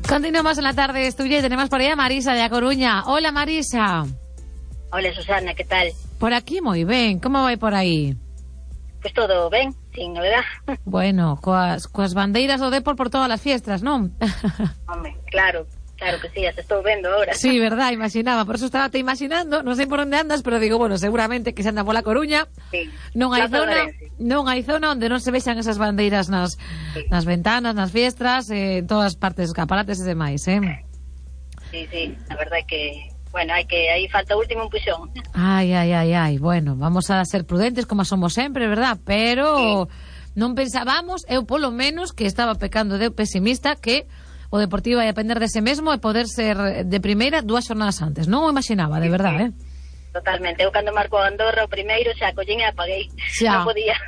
Continuamos en la tarde tuya y tenemos por ahí a Marisa de A Coruña. Hola, Marisa. Hola, Susana, ¿qué tal? Por aquí moi ben, como vai por aí? Pues todo ben, sin novedad. Bueno, coas bandeiras do Depor por todas as fiestas, non? Hombre, claro que sí, as estou vendo ahora. Sí, verdad, imaginaba, por eso estaba te imaginando, non sei por onde andas, pero digo, bueno, seguramente que se anda pola Coruña. Sí. Non hai zona onde non se vexan esas bandeiras nas ventanas, nas fiestras, en todas partes, escaparates e demais, Sí, a verdade é que bueno, aí falta o último empuxón. Ai, bueno, vamos a ser prudentes como somos sempre, verdad? Pero non pensábamos, eu polo menos, que estaba pecando de pesimista, que o Deportivo ia depender dese mesmo e poder ser de primeira 2 xornadas antes. Non o imaginaba, de verdade, Totalmente. Eu cando marcou Andorra o primeiro xa collín e apaguei. Non podía.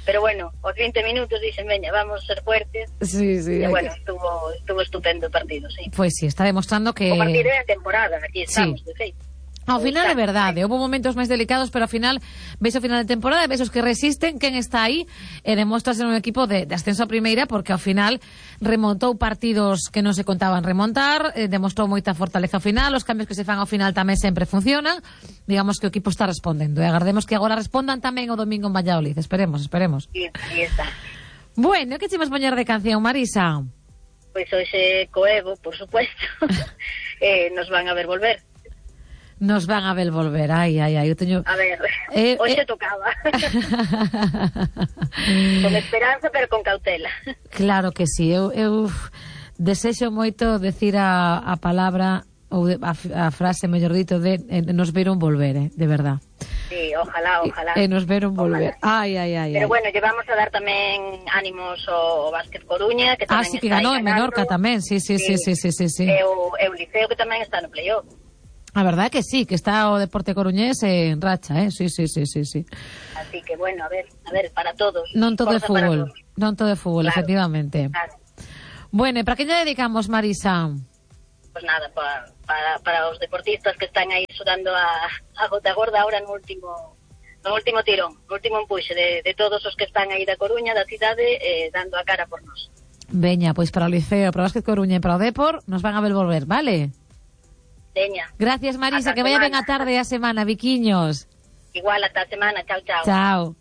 Pero bueno, os 20 minutos dixen, veña, vamos ser fuertes. Sí. E bueno, estuvo estupendo o partido, sí. Pois sí, está demostrando que... O partido é a temporada, aquí estamos, de feito. Ao final é verdade, houve momentos máis delicados, pero ao final ves o final de temporada, ves os que resisten, quen está aí, e demostra ser un equipo de ascenso a primeira, porque ao final remontou partidos que non se contaban remontar, demostrou moita fortaleza ao final, os cambios que se fan ao final tamén sempre funcionan, digamos que o equipo está respondendo, e agardemos que agora respondan tamén o domingo en Valladolid, esperemos. Sí, aí está. Bueno, que che vas poñer de canción, Marisa? Pois hoxe coevo, por supuesto, nos van a ver volver. Nos van a ver volver, ai, eu teño... A ver, hoxe tocaba. Con esperanza, pero con cautela. Claro que sí, eu desexo moito decir a palabra, ou a frase, mellor dito, de nos veron volver, de verdad. Sí, ojalá. Nos veron volver. Ai. Pero bueno, llevamos a dar tamén ánimos ao Vázquez Coruña, que tamén sí, que ganou en Menorca tamén, sí. E o Liceo, que tamén está no playoff. A verdade que sí, que está o Deporte Coruñés en racha, sí. Así que bueno, a ver, para todos. Non todo é fútbol, claro, efectivamente. Claro. Bueno, e para que lle dedicamos, Marisa? Pues nada, para os deportistas que están aí sudando a gota gorda ahora no último tirón, no último empuxe de todos os que están aí da Coruña, da cidade, dando a cara por nós. Veña, pois para o Liceo, para o Vázquez Coruña e para o Depor, nos van a ver volver, vale? Veña. Gracias, Marisa, que vaya ben a tarde e a semana, biquiños. Igual, ata a semana, chao. Chao.